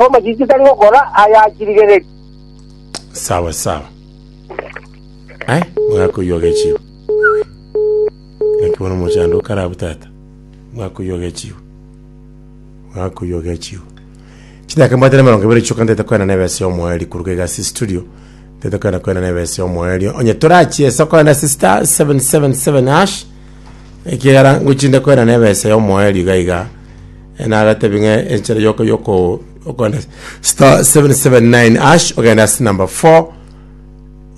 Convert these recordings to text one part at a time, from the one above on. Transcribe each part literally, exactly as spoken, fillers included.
Omachichi tari gokora ayachirigereri. Sawa sawa. Ai, mwakoyoga echiwo. Naki bono mochando okarabu tata. Mwakoyoga echiwo. Mwakoyoga echiwo. Chidaka mbwate na emerongo ebere chioka ntete koena na ebesa omoeri kuruga egasi studio. Ntete koena koena na ebesa omoeri. Onye torachiesa koena ase star seven seven seven hash. Ekiagera ngochinde koena na ebesa ya omoeri iga iga. Nagatebi ng'a enchera yoko yoko okoenda star seven seven nine hash ogenda ase number four.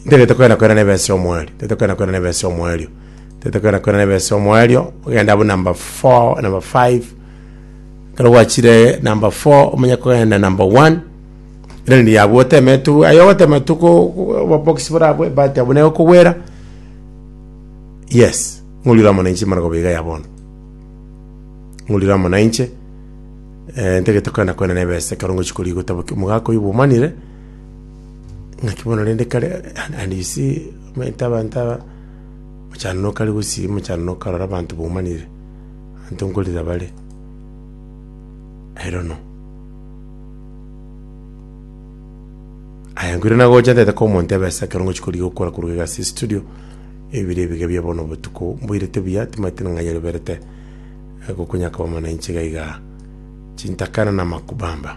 Ntagete koenda koenda na ebesa omoerio, ntagete koenda koenda na ebesa omoerio, ntagete koenda koenda na ebesa omoerio, ogenda abwo number four, number five. Ekero gwachire number four, omanye kogenda number one, rende yabwo oteme tu, aye ogotema tu ko obobox bore abwo ebahati abwo negokogwera, yes, ng'orire amo nainche mara iga ya bono. Ng'orire amo nainche, eh, ntagete koenda koenda na ebesa ekero ngochi korigia gotabokia omogaka oywo bwomanire, ng'aki bono rende kare, and, and you see, omanyete abanto aba, mochando nokare gusii, mochando nokarora abanto bomanire, abanto nkorera bare, I don't know. Aya nkoirana nagocha ntagete koa omonto ebesa ekero ngochi korigia gokora korwa iga ase estudio, ebire ebiga bia bono obotuko, mboirete buya, timanyeti ng'a nyeroberete, gokonya koba amo nainche iga igaa, chintakana na makubamba.